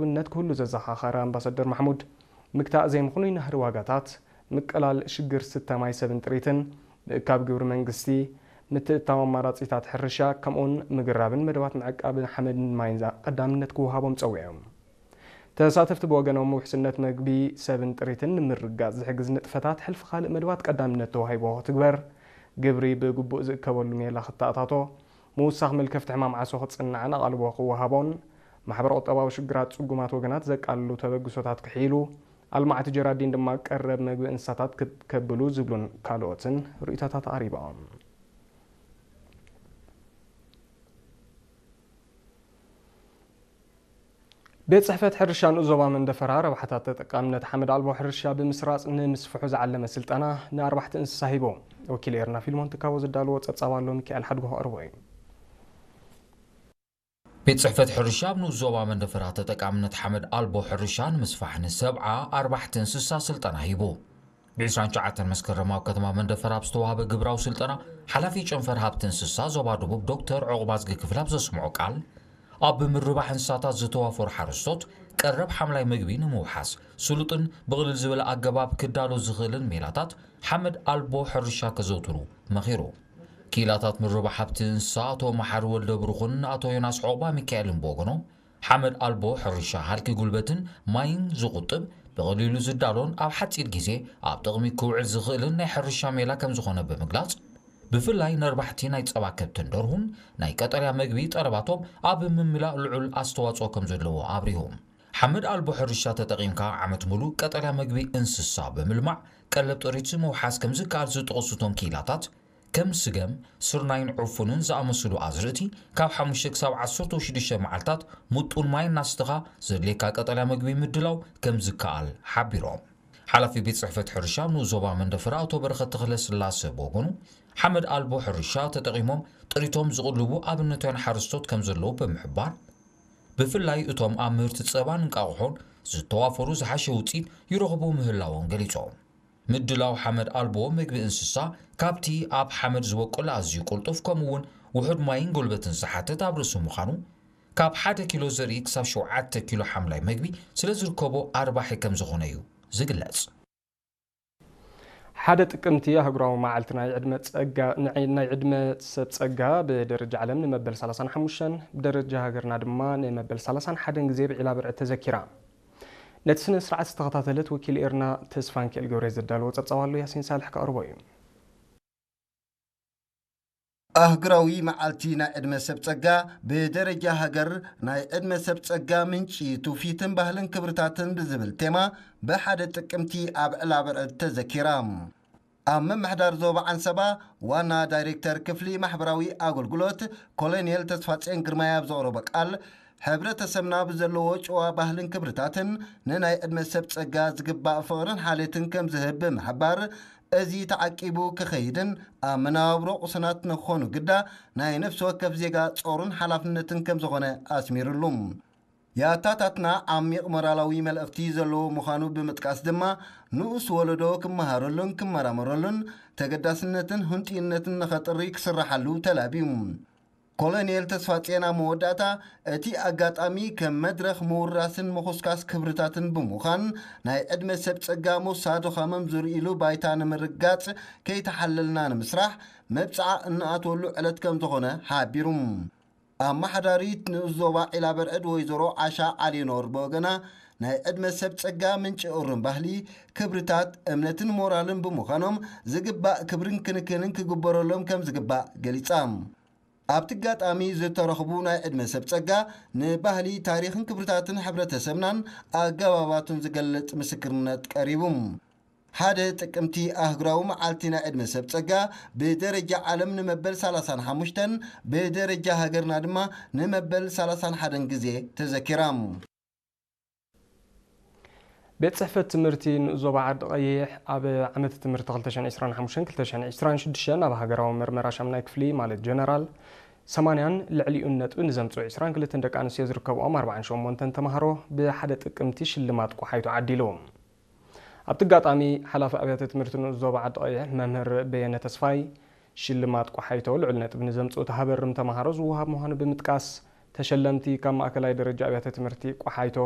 ውነት ክህሉ ዘዘኻኸረ ኣምባሳደር ማሕሙድ፣ ምግታእ ዘይምኽኑይ ናህሪ ዋጋታት፣ ምቅላል ሽግር ስተ ማይ ሰብን ጥሪትን፣ ምእካብ ግብሪ መንግስቲ፣ ምትእትታው ኣማራጺታት ሕርሻ፣ ከምኡውን ምግራብን መደባት ምዕቃብን ሓመድን ማይን ቀዳምነት ክወሃቦም ጸዊዖም። ተሳተፍቲ ብወገኖም ውሕስነት መግቢ ሰብን ጥሪትን ንምርግጋጽ ዝሕግዝ ንጥፈታት ሕልፊ ካልእ መደባት ቀዳምነት ተዋሂቦ ክትግበር፣ ግብሪ ብግቡእ ዝእከበሉ ሜላ ክተኣታቶ፣ ምውሳኽ መልከፍቲ ሕማም ዓሶ ክጽናዕን ኣቓልቦ ክወሃቦን፣ ማሕበረ ቁጠባዊ ሽግራት ጽጉማት ወገናት ዘቃልሉ ተበግሶታት ክሕይሉ፣ ኣልማዕቲ ጀራዲን ድማ ቀረብ መግቢ እንስሳታት ክከብሉ ዝብሉን ካልኦትን ርእይቶታት ኣቕሪቦም። ቤት ጽሕፈት ሕርሻ ንኡስ ዞባ መንደፈራ ረብሓታት ተጠቃምነት ሓመድ ኣልቦ ሕርሻ ብምስራጽ ንምስፍሑ ዝዓለመ ስልጠና ንኣርባሕቲ እንስሳ ሂቦ። ወኪል ኤርና ፊልሞን ትካቦ ዘዳለዎ ጸብጻብ ኣሎ፣ ሚካኤል ሓድጎ ከቕርቦ እዩ። ቤት ጽሕፈት ሕርሻ ኣብ ንኡስ ዞባ መንደፈራ ተጠቃምነት ሓመድ ኣልቦ ሕርሻ ንምስፋሕ ንሰብዓ ኣርባሕቲ እንስሳ ስልጠና ሂቡ። ብ ዕስራን ትሽዓተን መስከረም ኣብ ከተማ መንደፈራ ኣብ ዝተዋህበ ግብራዊ ስልጠና፣ ሓላፊ ጨንፈር ሃብቲ እንስሳ ዞባ ደቡብ ዶክተር ዑቕባዝጊ ክፍል ኣብ ዘስምዖ ቃል፣ ኣብ ምርባሕ እንስሳታት ዝተዋፈሩ ሓረስቶት ቀረብ ሓምላይ መግቢ ንምውሓስ ስሉጥን ብቕልል ዝበለ ኣገባብ ክዳሎ ዝኽእልን ሜላታት ሓመድ ኣልቦ ሕርሻ ከዘውትሩ መኺሩ። ክኢላታት ምርባሕ ሃብቲ እንስሳ ኣቶ መሓሪ ወልደ ብሩኽን ኣቶ ዮናስ ዑቕባ ሚካኤልን ብወገኖም፣ ሓመድ ኣልቦ ሕርሻ ሃልኪ ጉልበትን ማይን ዝቑጥብ፣ ብቐሊሉ ዝዳሎን ኣብ ሓጺር ግዜ ኣብ ጥቕሚ ክውዕል ዝኽእልን ናይ ሕርሻ ሜላ ከም ዝኾነ ብምግላጽ፣ ብፍላይ ነርባሕቲ ናይ ጸባ ከብትን ደርሁን ናይ ቀጠልያ መግቢ ጠለባቶም ኣብ ምምላእ ልዑል ኣስተዋጽኦ ከም ዘለዎ ኣብሪሆም። ሓመድ ኣልቦ ሕርሻ ተጠቒምካ ዓመት ሙሉእ ቀጠልያ መግቢ እንስሳ ብምልማዕ ቀለብ ጥሪት ምውሓስ ከም ዝከኣል ዝጠቐሱ እቶም ክኢላታት፣ ከም ስገም፣ ስርናይን ዕፉንን ዝኣመሰሉ ኣዝርእቲ ካብ ሓሙሽተ ክሳብ ዓሰርተ ሽዱሽተ መዓልታት ምጡን ማይ እናስተኻ ዘድልየካ ቀጠልያ መግቢ ምድላው ከም ዝከኣል ሓቢሮም። ሓላፊ ቤት ጽሕፈት ሕርሻ ንኡስ ዞባ መንደፈራ ኣቶ በረኸት ተኽለስላሰ ብወገኑ፣ ሓመድ ኣልቦ ሕርሻ ተጠቒሞም ጥሪቶም ዝቕልቡ ኣብነታውያን ሓረስቶት ከም ዘለዉ ብምሕባር፣ ብፍላይ እቶም ኣብ ምህርቲ ጸባን እንቃቑሖን ዝተዋፈሩ ዝሓሸ ውጽኢት ይረኽቡ ምህላዎም ገሊጾም። ምድላው ሓመድ ኣልቦ መግቢ እንስሳ ካብቲ ኣብ ሓመድ ዝበቁል ኣዝዩ ቅልጡፍ ከምኡ እውን ውሑድ ማይን ጉልበትን ዝሓትት ኣብ ርእሲ ምዃኑ፣ ካብ ሓደ ኪሎ ዘርኢ ክሳብ ሸውዓተ ኪሎ ሓምላይ መግቢ ስለ ዝርከቦ ኣርባሒ ከም ዝኾነ እዩ ዝግለጽ። ሓደ ጥቅምቲ ኣህጉራዊ መዓልቲ ናይ ዕድመ ጸጋ፣ ናይ፣ ናይ ዕድመ ሰብ ጸጋ ብደረጃ ዓለም ንመበል ሰላሳን ሓሙሽተን፣ ብደረጃ ሃገርና ድማ ንመበል ሰላሳን ሓደን ግዜ ብዒላ ብርዒ ተዘኪራ። ነቲ ስነ ስርዓት ዝተኸታተለት ወኪል ኤርና ተስፋንኪኤል ገብረ ዘዳለዎ ጸብጻብ ኣሎ፣ ያሲን ሳልሕ ከቕርቦ እዩ። ኣህጉራዊ መዓልቲ ናይ ዕድመ ሰብ ጸጋ ብደረጃ ሃገር፣ ናይ ዕድመ ሰብ ጸጋ ምንጪ ትውፊትን ባህልን ክብርታትን ብዝብል ቴማ ብሓደ ጥቅምቲ ኣብ ዕላ ብርዕድ ተዘኪራ። ኣብ ምምሕዳር ዞባ ዓንሰባ ዋና ዳይሬክተር ክፍሊ ማሕበራዊ ኣገልግሎት ኮሎኔል ተስፋጼን ግርማይ ኣብ ዘቕረቦ ቃል፣ ሕብረተሰብና ብዘለዎ ጭዋ ባህልን ክብርታትን ንናይ ዕድመ ሰብ ጸጋ ዝግባእ ፍቕርን ሓልዮትን ከም ዝህብ ብምሕባር፣ እዚ ተዓቂቡ ክኸይድን ኣብ መነባብሮ ቁሱናት ንክኾኑ ግዳ ናይ ነፍሲ ወከፍ ዜጋ ጾርን ሓላፍነትን ከም ዝኾነ ኣስሚሩሉ። የኣታታትና ዓሚቕ ሞራላዊ መልእኽቲ ዘለዎ ምዃኑ ብምጥቃስ ድማ፣ ንኡስ ወለዶ ክመሃረሉን ክመራመረሉን ተገዳስነትን ህንጡይነትን ንኸጥሪ ክስራሓሉ ተላብዩ። ኮሎኔል ተስፋጼን ኣብ መወዳእታ፣ እቲ ኣጋጣሚ ከም መድረኽ ምውራስን ምኹስካስ ክብርታትን ብምዃን፣ ናይ ዕድመ ሰብ ጸጋ ሞሳ ድኻሞም ዝርእይሉ ባይታ ንምርጋጽ ከይተሓለልና ንምስራሕ መብጽዓ እንኣትወሉ ዕለት ከም ዝኾነ ሓቢሩ። ኣመሓዳሪት ንኡስ ዞባ ዒላ በርዕድ ወይዘሮ ዓሻ ዓሊኖር ብወገና፣ ናይ ዕድመ ሰብ ጸጋ ምንጪ እሩም ባህሊ፣ ክብርታት፣ እምነትን ሞራልን ብምዃኖም፣ ዝግባእ ክብርን ክንክንን ክግበረሎም ከም ዝግባእ ገሊጻ። ኣብቲ ኣጋጣሚ ዝተረኽቡ ናይ ዕድመ ሰብ ጸጋ፣ ንባህሊ፣ ታሪኽን ክብርታትን ሕብረተሰብናን ኣገባባቱን ዝገልጽ ምስክርነት ቀሪቡ። ሓደ ጥቅምቲ ኣህጉራዊ መዓልቲ ናይ ዕድመ ሰብ ጸጋ ብደረጃ ዓለም ንመበል ሰላሳን ሓሙሽተን፣ ብደረጃ ሃገርና ድማ ንመበል ሰላሳን ሓደን ግዜ ተዘኪራ። ቤት ጽሕፈት ትምህርቲ ንኡስ ዞባ ዓዲ ቀይሕ ኣብ ዓመት ትምህርቲ ክልተ ሽሕን ዕስራን ሓሙሽተን ክልተ ሽሕን ዕስራን ሽዱሽተን ኣብ ሃገራዊ መርመራ ሻምናይ ክፍሊ ማለት ጀነራል ሰማንያን ልዕሊኡን ነጥቢ ንዘምጽኡ ዕስራን ክልተን ደቂ ኣንስትዮ ዝርከብኦም ኣርባዓን ሸሞንተን ተማሃሮ ብሓደ ጥቅምቲ ሽልማት ቆሓይቶ ዓዲሉ። ኣብቲ ኣጋጣሚ ሓላፊ ኣብያተ ትምህርቲ ንኡስ ዞባ ዓዲ ቀይሕ መምህር በየነ ተስፋይ ሽልማት ቆሓይቶ ልዑል ነጥቢ ንዘምጽኡ ተሃበርም ተማሃሮ ዝወሃብ ምዃኑ ብምጥቃስ ተሸለምቲ ካብ ማእከላይ ደረጃ ኣብያተ ትምህርቲ ቆሓይቶ